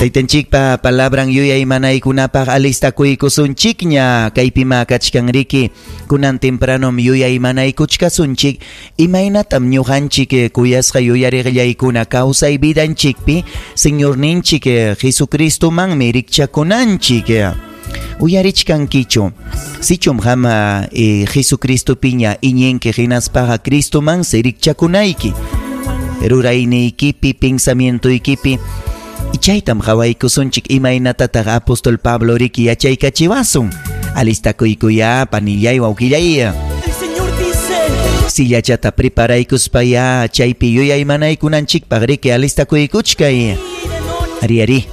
Taytanchikpa palabran yuyaymanaykunapaq alistakuykusunchikña. Kaypima kachkanriki kunan tempranom yuyaymanaykuchkasunchik. Imaynatam ñuqanchik kuyasqa yuyariqllaykuna kawsay vidanchikpi Señorninchik Jesucristomanmi rikchakunanchik. Uyarichkankichu. Sichum qam Jesucristopiña iñinki hinaspaqa Cristomansi rikchakunayki. Rurayniykipi, pensamientoykipi. Chaytam qhawaykusunchik imaynatataq apóstol Pablo riki yachaykachiwasun. Alistakuykuya panillay wawqillay. El Señor dice: Sillachata preparaykuspaya chaypi yuyaymanaykunanchikpaq riki alistakuykuchkay. Ari ari.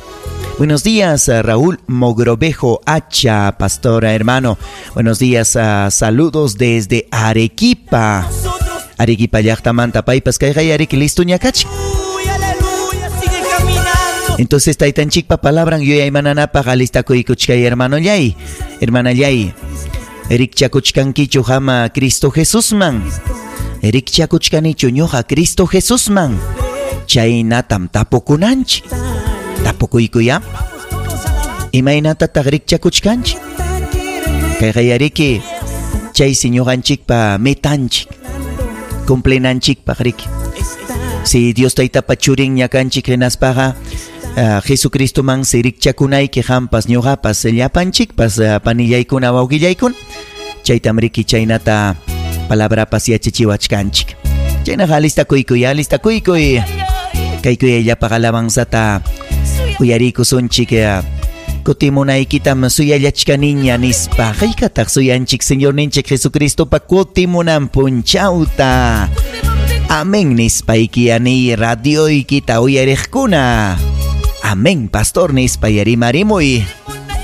Buenos días, Raúl Mogrovejo Hacha, pastora hermano. Buenos días, saludos desde Arequipa. Arequipa llaqtamanta paypas kayqa yariki listo ñakachik. Entonces taytanchikpa palabran yuyaymananapaq alistakuykuchkay hermanollay, hermanallay. Rikchakuchkankichu hama Cristo Jesusman. Rikchakuchkanichu ñuqa Cristo Jesusman. Chaynatam tapukunanchik. Tapukuykuya. Imaynatataq rikchakuchkanchik. Kayqa yariki chaysi ñuqanchikpa metanchik. Cumplinanchikpaq riki. Si Dios taytapa churin ñakanchik hinaspaqa Jesucristoman rikchakunayki qampas ñuqapas llapanchikpas panillaykuna wawqillaykuna. Chaytam riki chaynata palabrapas yachachiwachkanchik. Chaynaqa alistakuykuy, alistakuykuy. Kaykuyayllapaq alabanzata uyariykusunchik. Kutimunaykitam suyallachkaniña nispa. Haykataq suyanchik Señorninchik Jesucristopa kutimunan punchawta. Amén nispayki ani radioykita uyariqkuna. Amén, pastor nispa yarimarimuy.